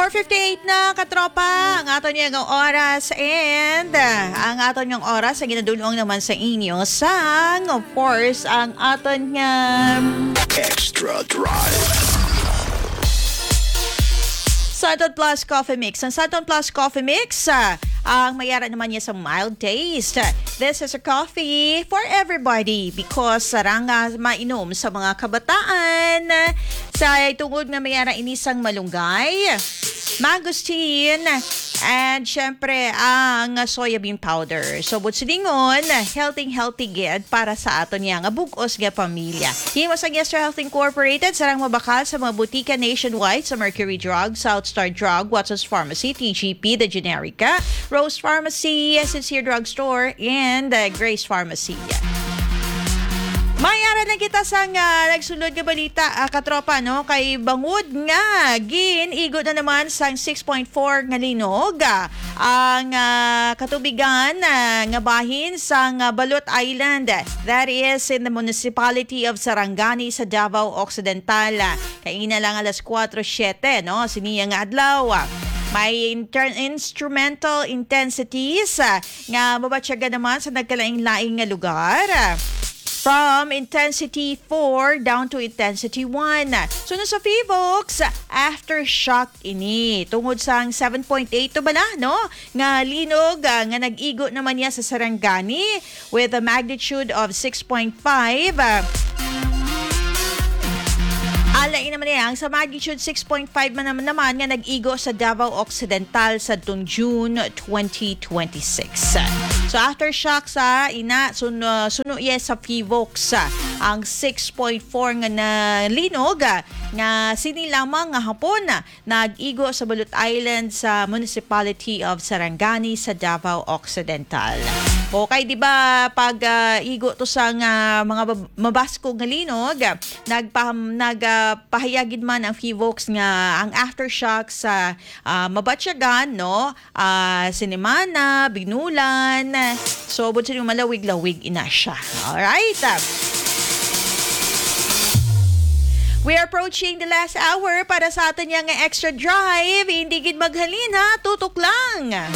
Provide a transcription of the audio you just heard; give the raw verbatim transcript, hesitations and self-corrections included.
fifty-eight na, katropa, ang aton nga oras, and, ah, ang aton nga oras ang ginadulong naman sa inyo sang, of course, ang aton nga Extra Drive. Santon Plus Coffee Mix. Ang Santon Plus Coffee Mix, ah, ang may ara naman niya sa mild taste. This is a coffee for everybody because sarang nga mainom sa mga kabataan, sa tungod nga may ara ini sang malunggay, mangosteen, and syempre ang soya bean powder. So, buot silingon, healthy, healthy gid para sa aton niya nga bug-os nga pamilya. Himo sang Yes to Health Incorporated, sarang mabakal sa mga butika nationwide sa Mercury Drug, South Star Drug, Watson's Pharmacy, T G P, The Generica, Rose Pharmacy, Sincere Drug Store, and, uh, Grace Pharmacy. May ara lang kita sang, ah, nagsunod nga balita, ah, katropa, no? Kay bangod nga gin-igo na naman sang six point four nga linog, ah, ang, ah, katubigan, ah, nga bahin sang, ah, Balot Island, that is in the municipality of Sarangani sa Davao Occidental. Kaina lang alas kuwatro siete, no? Siniya nga adlaw. May inter-, instrumental intensities, ah, nga mabatyagan naman sa nagkalain-lain nga lugar. From intensity four down to intensity one. So, no, sa Fivox, aftershock ini. Tungod sang seven point eight to bala, no? Nga linog, ah, nga nag-igo naman niya sa Sarangani with a magnitude of six point five. Ah, alain naman niya ang sa magnitude six point five man naman, naman nga nag-igo sa Davao Occidental sa tong June twenty twenty-six. So, aftershock sa ina, sun-, uh, suno iya sa Fivox, uh, ang six point four nga na linog, uh, nga sini lamang nga hapon, uh, nag-igo sa Balot Island sa Municipality of Sarangani sa Davao Occidental. Okay, di ba, pag, uh, igo to sa nga mga bab-, mabaskog nga linog, uh, nagpaham-, nag, uh, pahayag gid man ang Fivox nga ang aftershock sa, uh, mabatyagan, no? Ah, Sinemana, Binulon. So, buot silingon, malawig-lawig ina siya. Alright. We are approaching the last hour para sa aton niya nga extra drive. Hindi gid maghalin, ha? Tutok lang.